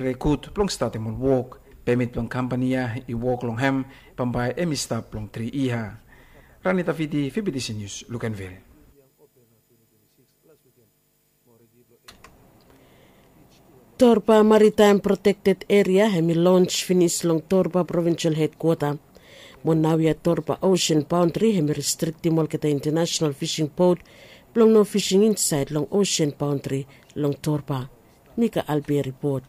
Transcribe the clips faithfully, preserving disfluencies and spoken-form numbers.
Rekut blong statem ol wok. Pemit blong kampani ya i wok long hem bambae hem i stap long tri yia. Rani Tafiti, Fibitisi Nius, Lukenvil. Torba Maritaem Protekted Eria hem i lons finis long Torba Provinsel Hedkwota. Mo naoia Torba Osen Baondri hem i restriktim olgeta intanasonal fising bot blong no fising insaed long osen baondri long Torba. Mika Albi ripot.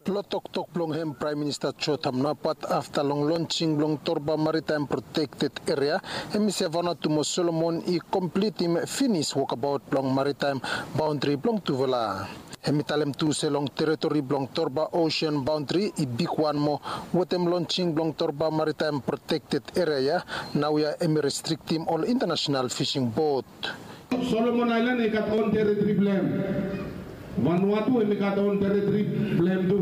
Lo toktok blong hem Praem Minista Jotham Napat afta long lonsing blong Torba Maritaem Protekted Eria, hem i se Vanuatu mo Solomon i komplitim finis wokabaot blong maritaem baondri blong tufala. Hem i talem tu se long teritori blong Torba Osen Baondri i bigwan moa wetem lonsing blong Torba Maritaem Protekted Eria ya, naoia hem i restriktim ol intanasonal fising bot. Solomon Aelan i gat on teritori blong hem. Vanuatu hem i gat on teritori blong hem tu.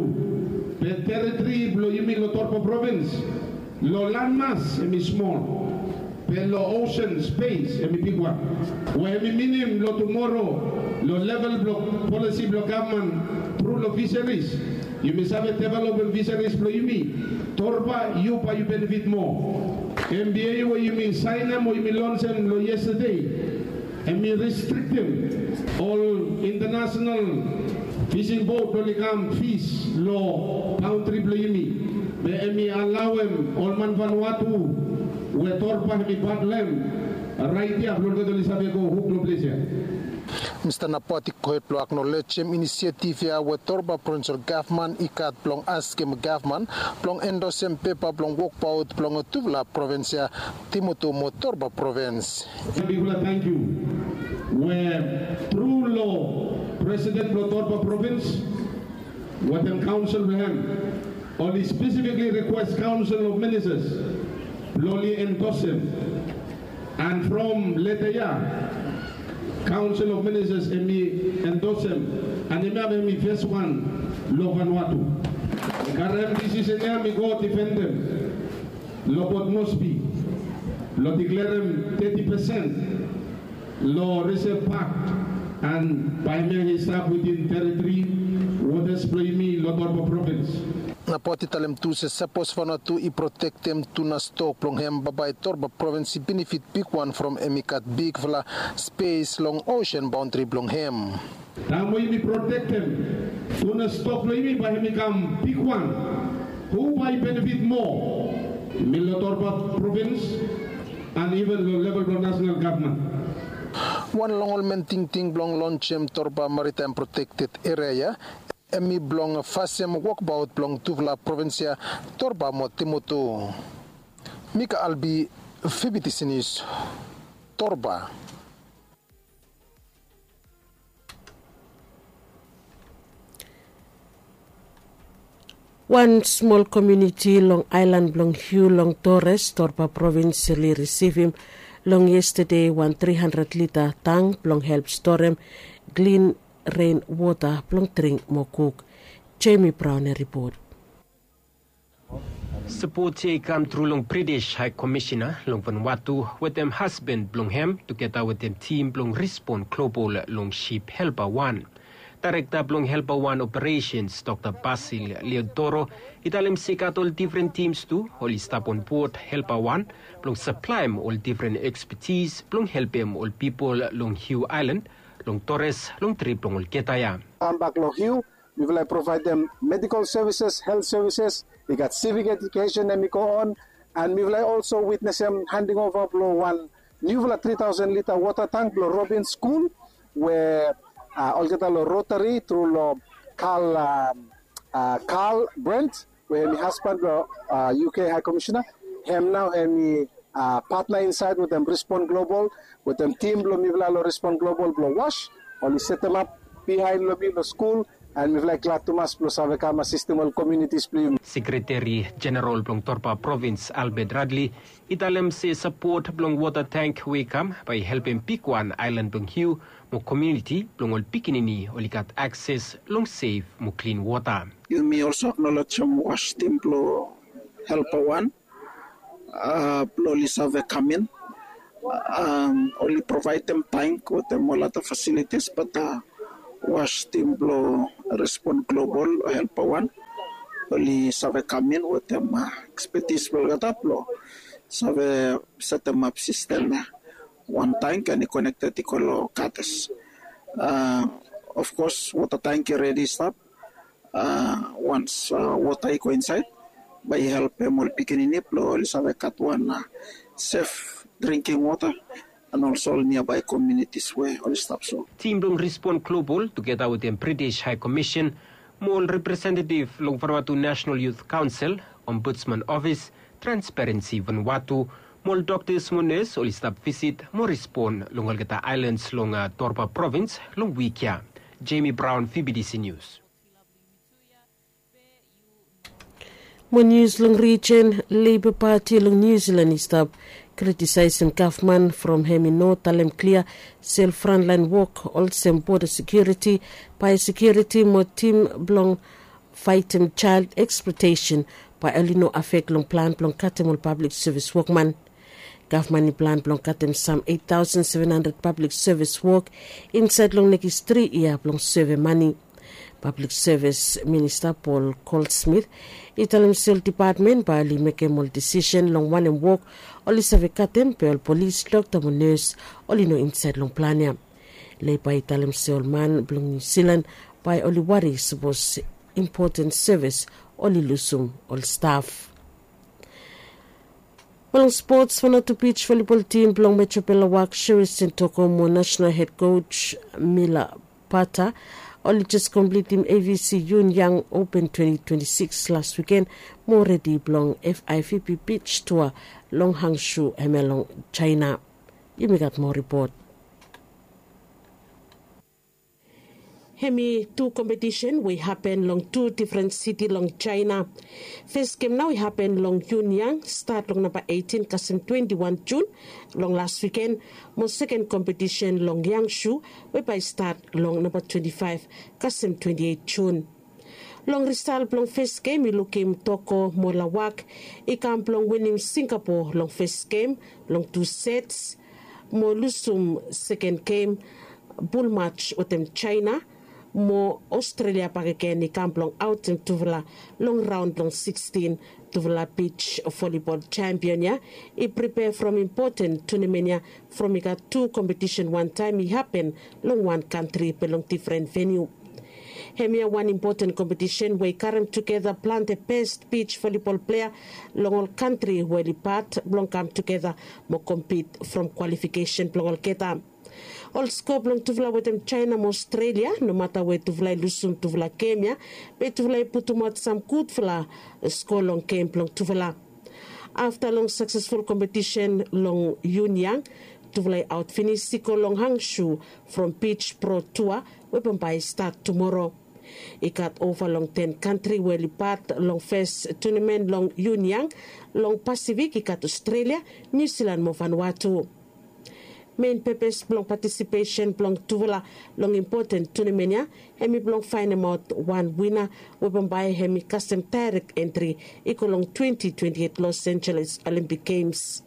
Be teritori blong yumi lo Torba Provins, lo lanmas hem i smol, be lo osen spes hem i bigwan. We hem i minim lo tumoro, lo level blong polisi blong gavman tru lo fisaris, yumi save developem fisaris blong yumi. Torba, yu bae yu benefit moa. Embiei we yumi saenem o yumi lonsem lo yestade, hem i restriktim ol intanasonal fising bot oli kam fis lo baondri blong yumi. Be hem i alaoem ol man Vanuatu we Torba hem i pat lo hem raet ya blong olgeta oli save go huk lo ples ya. Mista Napat i gohed blong aknolejem inisiativ ya we Torba Provinsel Gavman i gat blong askem gavman blong endosem pepa blong wokbaot blong tufala provins ya, Timoto mo Torba Provins. Bigfala tangkiu we tru lo Presiden blong Torba Provins wetem kaonsel blong hem, oli spesifikli rikwes Kaonsel of Ministas blong oli endosem. And from leta ya, Kaonsel of Ministas hem i endosem, and hemia hem i fes wan lo Vanuatu. I karem disisen ya, hem i go difendem lo Port Moresby, lo diklerem teti pesen lo Reserve Park, and bae hemia i stap witin teritori wotas blong yumi lo Torba Provins. Napat i talem tu se sapos Vanuatu i protektem tuna stok blong hem, bambae Torba Provins i benefit bigwan from hem i gat bigfala spes long osen baondri blong hem. Taem we yumi protektem tuna stok blong yumi, bae hem i kam bigwan. Hu bae i benefit moa? Yumi lo Torba Provins and iven lo level blong nasonal gavman. Wan long ol men tingting blong lonsem Torba Maritaem Protekted Eria ya, hem i blong fasem wokbaot blong tufala provins ya, Torba mo Timoto. Mika Albi, Fibitisi Nius, Torba. Wan smol komuniti long aelan blong Hiu long Torres, Torba Provins, oli risivim long yestade wan tri handred lita tang blong help storem klin ren wota blong dring mo kuk. Jemi Braon i ripot. Sapot ya i kam tru long British Hae Komisena long Vanuatu wetem hasban blong hem tugeta wetem tim blong Respon Global long sip Helpa Wan. Daerekta blong Helpa Wan Operesens, Dokta Basil Leodoro, i talem se i gat ol difren tims tu oli stap onbod Helpa Wan blong saplaem ol difren ekspetis blong helpem ol pipol long Hiu Aelan, long Torres, long trip blong olgeta ya. Kambak long Hiu, mifala i provaedem medikol sevises, helt sevises, i gat sivik ejukesen hem i go on, and mifala i olso witnesem handing ova blong wan niufala tri taosen lita wota tang blong Robin Skul, we, a, olgeta long Rotari tru long Karl, a, a, Karl Brent, we hem i hasban blong, a, U K Hae Komisena, hem nao hem i, a, patna insaed wetem Respon Global, wetem tim blong mifala long Respon Global blong was, oli setemap biaen long mi long skul, and mifala i glad tumas blong save kam asistem ol komunitis blong yumi. Sekreteri Jeneral blong Torba Provins, Albert Radley, i talem se sapot blong wota tang we i kam bae i helpem bigwan aelan blong Hiu mo komuniti blong ol pikinini oli gat akses long sef mo klin wota. Yumi olso aknolejem was tim blong Helpa Wan, a, blong oli save kam in, a, oli provaedem tang wetem ol ada fasilitis, bat, a, was tim blong Respon Global, Helpa Wan, oli save kam in wetem ekspetis blong olgeta blong save setemap sistem ya. Wan tank and i konekted i go long kates. Of kos wota tank i redi stap. Wans wota i go insaed, bae i helpem ol pikinini blong oli save gat wan sef dringking wota and olso ol niabae komunitis we oli stap so. Tim blong Respon Global tugeta wetem British High Commission mo ol representetiv long Vanuatu National Youth Council, Ombudsman Office, Transparency Vanuatu mo ol doktas mo nes oli stap visit mo respon long olgeta aelans long Torba Provins long wik ya. Jamie Brown, V B T C News. Mo nius long rijen, Leiba Pati long Niu Silan i stap kritisaesem gavman from hem i no talem klia se ol frantlaen wok olsem boda sekiuriti, baesekiuriti mo tim blong faetem jael eksplotesen bae oli no afek long plan blong katem ol pablik sevis wokman. Gavman i plan blong katem sam eit taosen seven handred pablik sevis wok insaed long nekis tri yia blong seve mane. Pablik sevis minista Paul Goldsmith i talem se ol depatmen bae oli mekem ol desisen long wanem wok oli save katem be ol polis, dokta mo nes oli no insaed long plan ya. Leiba i talem se ol man blong Niu Silan bae oli wari sapos impoten sevis oli lusum ol staf. Mo long spots, Vanuatu Beach Volleyball Team blong Metro Belawax, Sherry Sentoko mo National Head Coach Mila Pata oli jes komplitim A V C Yun Yang Open twenty twenty-six las wiken mo redi blong F I V B Beach Tour long Hangzhou hemia long Jaena. Yumi gat moa ripot. Hemi tu kompetisen we i hapen long tu difren siti long Jaena. Fes gem nao i hapen long Yun Yang, stat long namba eitin kasem twenti wan Jun long las wiken, mo seken kompetisen long Yangshu we bae i stat long namba twenti faef kasem twenti eit Jun. Long risal blong fes gem i lukim Toko mo Lawak i kam blong winim Singapo long fes gem long tu sets mo lusum seken gem, bulmaj wetem Jaena, mo Australia bakegen i kam blong aotem tufala long raon blong sikstin. Tufala beach volleyball champion ya i pripea from impoten tunamen ya from i gat tu kompetisen wantaem i hapen long wan kantri be long difren veniu. Hemia wan impoten kompetisen we i karem tugeta plante bes beach volleyball plea long ol kantri we oli pat blong kam tugeta mo kompit from kwalifikesen blong olgeta. Ol sko blong tufala wetem Jaena mo Australia, nomata we tufala i lusum tufala gem ya, be tufala i putumaot sam gudfala sko long gem blong tufala. Afta long saksesful kompetisen long Yun Yang, tufala i aot finis i go long Hangzhou from Beach Pro Tour we bambae i stat tumoro. I gat ova long ten kantri we oli pat long fes tunamen long Yun Yang. Long Pasifik i gat Australia, Niu Silan mo Vanuatu. Mein pepes blong patisipesen blong tufala long impoten tunamen ya hemi blong faenemaot wan wina we bambae hemi kasem daerek entri i go long twenti twenti eit Los Angeles Olympic Games.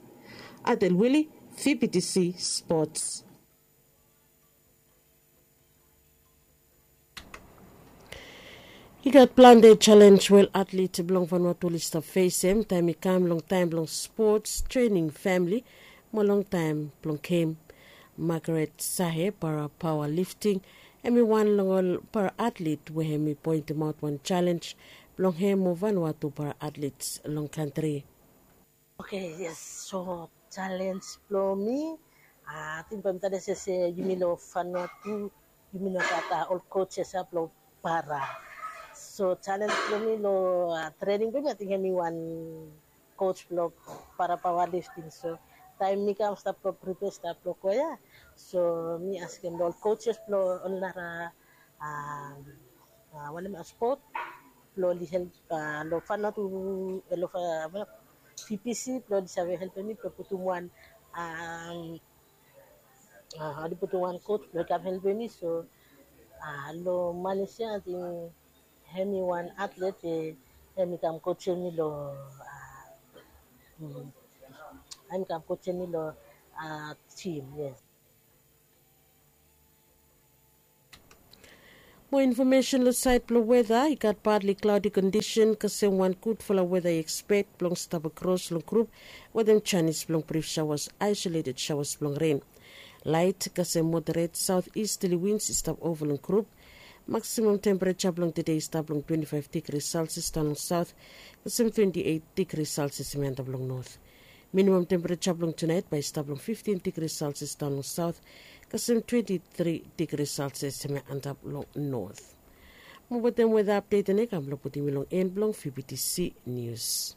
Adel Willie, V B T C Sports. I gat plante jalenj we ol atlet blong Vanuatu oli stap fesem taem i kam long taem blong spots, trening, famili, mo long taem blong gem. Margaret Sahe, para paoa lifting, hemi wan long ol para atlet we hemi poentemaot wan jalenj blong hem mo Vanuatu para atlet long kantri. Oke, yes. So jalenj blong mi, ating bae mi talem se yumi long Vanuatu yumi no gat ol coaches ya blong para. So jalenj blong mi long trening blong mi, ating hemi wan coach blong para paoa lifting. So taem mi kam stap blong pripea stap blong go ya, so mi askem long ol coaches blong ol nara wanem ya spot blong oli help long Vanuatu, long V P C blong oli save helpem mi blong putum wan, oli putum wan coach blong i kam helpem mi. So long Malaysia ating hemi wan atlet we hemi kam coachem mi long, hemi kam coachem mi long gym, yes. Mo infomesen long saed blong weta i gat badli klaodi kondisen kasem wan gudfala weta i ekspek blong stap akros long grup wetem janis blong brif saoas, aisoleted saoas blong ren. Laet kasem moderet saot istali wins i stap ova long grup. Maksimam tempereja blong tede i stap long twenti faef digri selsias daon long saot, kasem twenti eit digri selsias hem i antap long not. Minimam tempereja blong tunaet bae i stap long fiftin digri selsias daon long saot, kasem twenti tri digri selsias hem i antap long not. Mo wetem weta apdet ya nao i kam blong putum yu long en blong vptc nius.